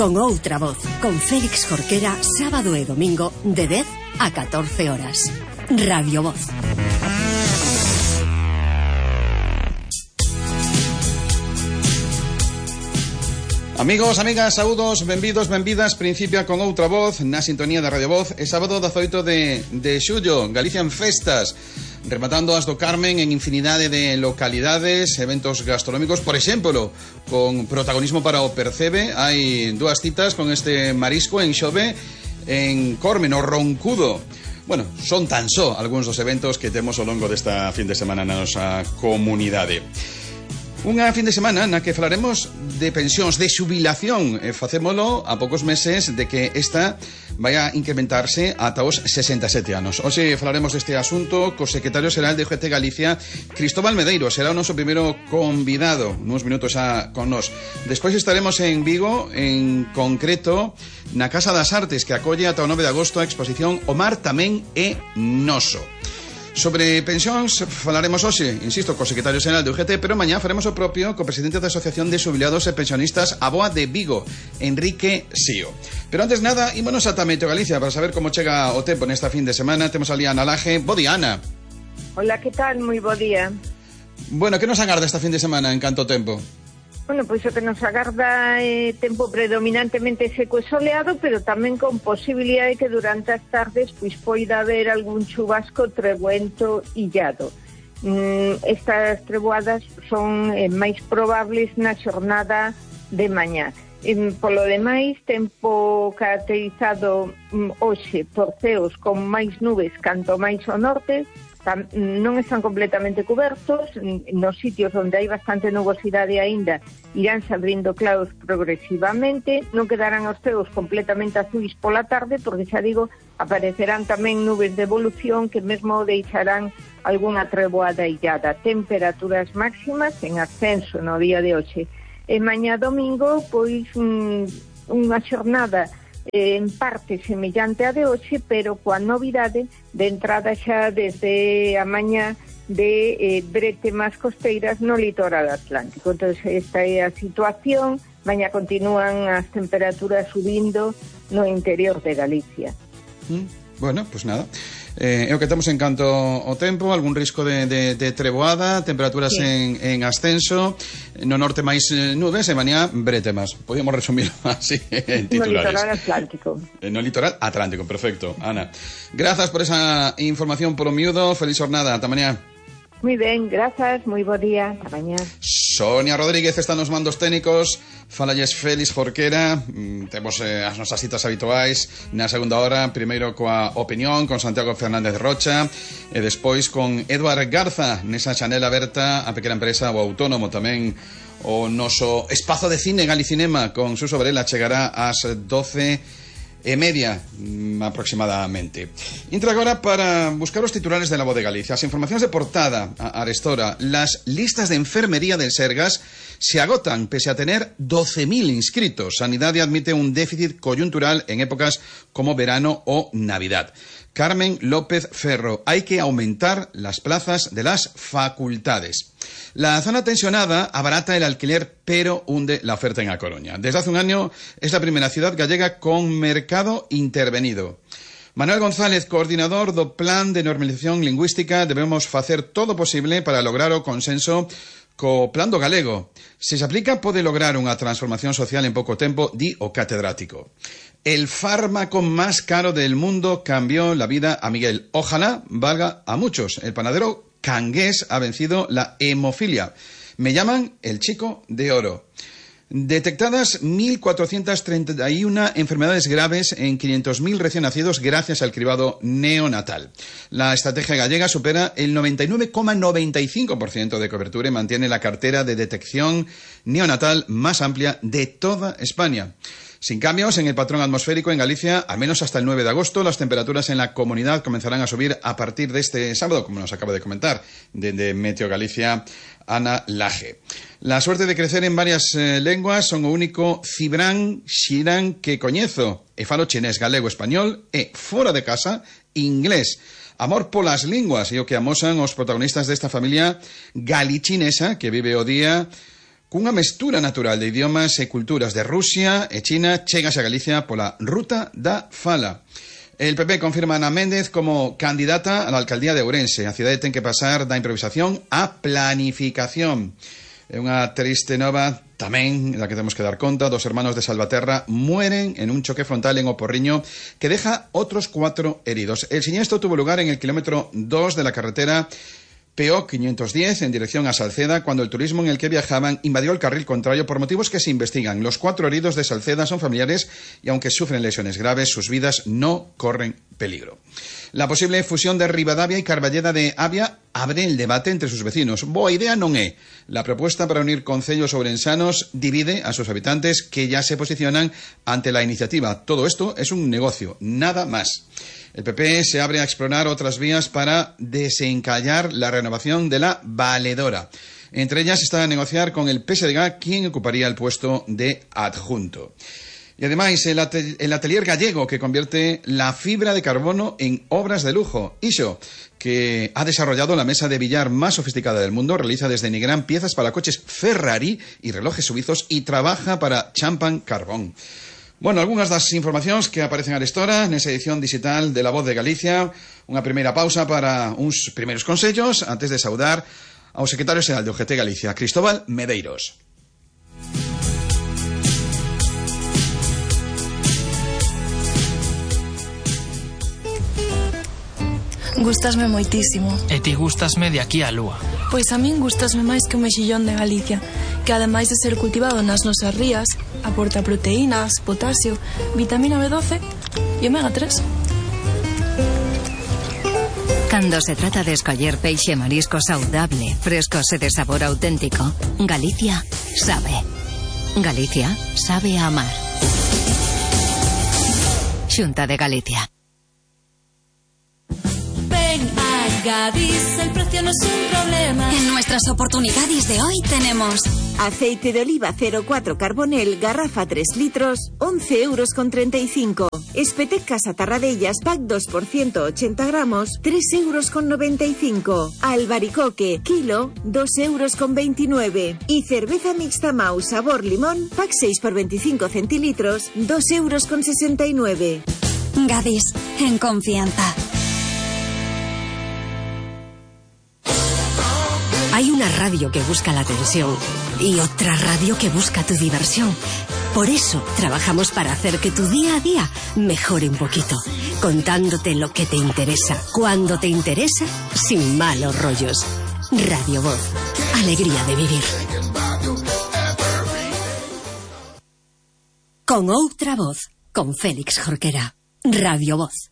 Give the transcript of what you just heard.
con outra voz, con Félix Jorquera, sábado e domingo de 10 a 14 horas. Radio Voz. Amigos, amigas, saúdos, benvidos, benvidas. Principia con outra voz na sintonía da Radio Voz. É sábado 18 de xullo, Galicia en festas, rematando as do Carmen en infinidade de localidades, eventos gastronómicos, por exemplo, con protagonismo para o Percebe. Hai dúas citas con este marisco en Xove, en Corme, no Roncudo. Bueno, son tan só algúns dos eventos que temos ao longo desta fin de semana na nosa comunidade. Unha fin de semana na que falaremos de pensións, de xubilación, e facémolo a poucos meses de que esta vai a incrementarse ata os 67 anos. Hoxe falaremos deste asunto co secretario xeral de UGT Galicia, Cristóbal Medeiro. Será o noso primeiro convidado, nuns minutos xa con nós. Despois estaremos en Vigo, en concreto na Casa das Artes, que acolle ata o 9 de agosto a exposición O Mar Tamén é Noso. Sobre pensións falaremos hoxe, insisto, co secretario xeral de UGT, pero mañá faremos o propio co presidente da Asociación de Xubilados e Pensionistas ABOA de Vigo, Enrique Sío. Pero antes nada, ímonos ata Meteo Galicia para saber como chega o tempo nesta fin de semana. Temos ali a Ana Laje. Bo día, Ana. Hola, que tal? Moi bo día. Bueno, que nos agarda esta fin de semana en canto tempo? Bueno, pois o que nos agarda é tempo predominantemente seco e soleado, pero tamén con posibilidade que durante as tardes pois poida haber algún chubasco trebuento illado. Estas treboadas son máis probables na xornada de mañá. Polo demais, tempo caracterizado hoxe por ceos con máis nubes canto máis ao norte. Non están completamente cobertos. Nos sitios onde hai bastante nubosidade aínda iránse abrindo claros progresivamente. Non quedarán os ceos completamente azuis pola tarde, porque xa digo, aparecerán tamén nubes de evolución que mesmo deixarán algunha treboada illada. Temperaturas máximas en ascenso no día de hoxe. E mañá domingo, pois unha xornada en parte semellante a de hoxe, pero coa novidade de entrada xa desde a mañá de bretemas costeiras no litoral atlántico. Entón, esta é a situación. Mañá continúan as temperaturas subindo no interior de Galicia. Bueno, pues nada. É o que temos en canto ao tempo, algún risco de treboada, temperaturas sí, en ascenso, no norte máis nubes e mañá bretemas. Podíamos resumir así en titulares. No litoral atlántico. No litoral atlántico, perfecto, Ana. Grazas por esa información polo miúdo, feliz jornada, ata mañá. Moi ben, grazas, moi bo día, ata mañá. Sonia Rodríguez está nos mandos técnicos. Falalles Félix Jorquera. Temos as nosas citas habituais na segunda hora, primeiro coa opinión con Santiago Fernández Rocha e despois con Eduard Garza nesa chanela aberta a pequena empresa o autónomo. Tamén o noso espazo de cine Galicinema con Suso Varela chegará ás 12:30 aproximadamente. Entra agora para buscar os titulares de La Voz de Galicia. As informacións de portada a Arestora. Las listas de enfermería del Sergas se agotan pese a tener 12.000 inscritos. Sanidade admite un déficit coyuntural en épocas como verano o Navidad. Carmen López Ferro. Hay que aumentar las plazas de las facultades. La zona tensionada abarata el alquiler, pero hunde la oferta en A Coruña. Desde hace un año es la primera ciudad gallega con mercado intervenido. Manuel González, coordinador do Plan de Normalización Lingüística. Debemos facer todo posible para lograr o consenso co Plan do Galego. Se se aplica, pode lograr unha transformación social en pouco tempo, di o catedrático. El fármaco más caro del mundo cambió la vida a Miguel. Ojalá valga a muchos. El panadero cangués ha vencido la hemofilia. Me llaman el chico de oro. Detectadas 1.431 enfermedades graves en 500.000 recién nacidos gracias al cribado neonatal. La estrategia gallega supera el 99,95% de cobertura y mantiene la cartera de detección neonatal más amplia de toda España. Sin cambios en el patrón atmosférico en Galicia, al menos hasta el 9 de agosto, las temperaturas en la comunidad comenzarán a subir a partir de este sábado, como nos acaba de comentar desde Meteo Galicia, Ana Laje. La suerte de crecer en varias lenguas son o único cibrán xirán que coñezo. E falo chinés, galego, español e, fora de casa, inglés. Amor polas linguas e o que amosan os protagonistas desta familia galichinesa que vive o día cunha mestura natural de idiomas e culturas de Rusia e China, chegase a Galicia pola ruta da fala. El PP confirma a Ana Méndez como candidata a la alcaldía de Ourense. A cidade ten que pasar da improvisación á planificación. É unha triste nova tamén da que temos que dar conta. 2 hermanos de Salvaterra mueren en un choque frontal en O Porriño que deja otros 4 heridos. El siniestro tuvo lugar en el kilómetro 2 de la carretera PO 510 en dirección a Salceda, cuando el turismo en el que viajaban invadió el carril contrario por motivos que se investigan. Los 4 heridos de Salceda son familiares y aunque sufren lesiones graves, sus vidas no corren peligro. La posible fusión de Ribadavia y Carballeda de Avia abre el debate entre sus vecinos. Boa idea non é. La propuesta para unir concellos ourensanos divide a sus habitantes que ya se posicionan ante la iniciativa. Todo esto es un negocio, nada más. El PP se abre a explorar otras vías para desencallar la renovación de la valedora. Entre ellas está a negociar con el PSDG quién ocuparía el puesto de adjunto. Y además el atelier gallego que convierte la fibra de carbono en obras de lujo. Iso, que ha desarrollado la mesa de billar más sofisticada del mundo, realiza desde Nigrán piezas para coches Ferrari y relojes suizos y trabaja para Champan Carbón. Bueno, algunhas das informacións que aparecen arestora nesa edición digital de La Voz de Galicia. Unha primeira pausa para uns primeiros consellos antes de saudar ao secretario xeral de OGT Galicia, Cristóbal Medeiros. Gústasme moitísimo. E ti gústasme de aquí á lúa. Pois a min gústasme máis que o mexillón de Galicia, que ademais de ser cultivado nas nosas rías, aporta proteínas, potasio, vitamina B12 e omega 3. Cando se trata de escoller peixe e marisco saudable, frescos e de sabor auténtico, Galicia sabe. Galicia sabe a amar. Xunta de Galicia. Gadis, el precio no es un problema. En nuestras oportunidades de hoy tenemos aceite de oliva 04 Carbonel, garrafa 3 litros, 11,35 €. Espetec Casa Tarradellas, pack 2 por 180 gramos, 3,95 €. Albaricoque, kilo, 2,29 €. Y cerveza mixta Mau sabor limón, pack 6 por 25 centilitros, 2,69 €. Gadis, en confianza. Hay una radio que busca la atención y otra radio que busca tu diversión. Por eso trabajamos para hacer que tu día a día mejore un poquito, contándote lo que te interesa, cuando te interesa, sin malos rollos. Radio Voz, alegría de vivir. Con outra voz, con Félix Jorquera. Radio Voz.